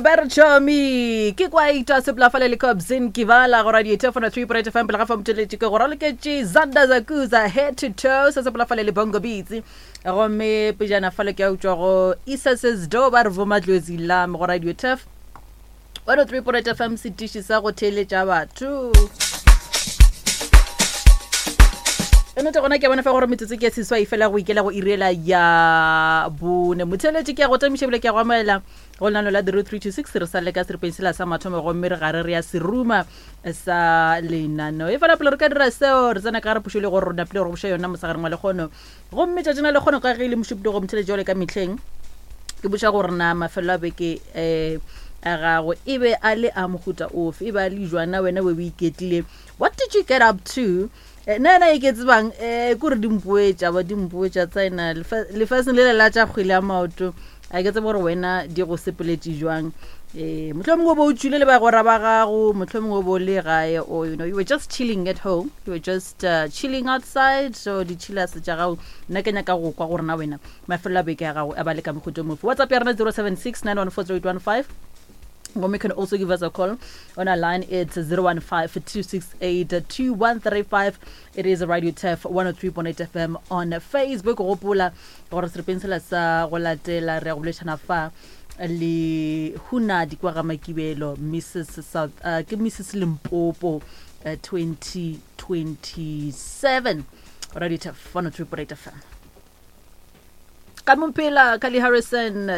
Ba re tšhomi ke kwa itwa sepolafale le cobzin kivala go radio tefona 3.8 fm pele ga fa motšweletši ke go raloketše zanda zakuza head to toe se sepolafale le bongo beats gomme pejana fale ke a utswa go isases do ba re vomatlwetsi la go radio tef 103.8 fm setiši sa go theeletša batho nnete gona ke a bona fa gore metsotso ke ya seswai fela go ikela go irela ya bone motheeletši ke ya go tamiša ebile ke ya go amogela go lenano la 0326 re sa le ka seripeng sela sa mathomo gomme re gare re ya seruma sa lenano e fela pele re ka dira seo re tsena ka gare pušo le gore rona pele gore boša yona mosagareng wa lekgono gomme tšatšing la lekgono ka ge e le mošupologo motheletši jale ka mehleng ke botša gore na mafelo a beke um a gago e be a le a mohuta ofe e be a le jwana wena we o iketlile what did you get up to eh, nna ena e ke tsebang um kore di mpoetša ba di mpoetša tsena lefaseng le le la tša kgwele ya maoto a ke tsebe gore wena di go sepeletše jwang um motlho mongwe o bo o tšwile le bagwera ba gago motlho mongwe o bo o le gae or you know you were just chilling at home you were just uh, chilling outside so di-chillers tša gago nna ke nyaka go kwa gore na wena mafelo a beke ya gago a ba le ka mohuta mofe whatsapp ya rena 076 914 Gomme you can also give us a call on our line. It's 015-268-2135. It is Radio Turf 103.8 FM on Facebook. Gopola gore seripeng sela sa go latela re ya go boledišana fa le Hunadi kwa ga Makibelo Mrs South uh, ke Mrs Limpopo uh, 2027. Radio Turf 103.8 FM. Ka Mompela, Kali Harrison.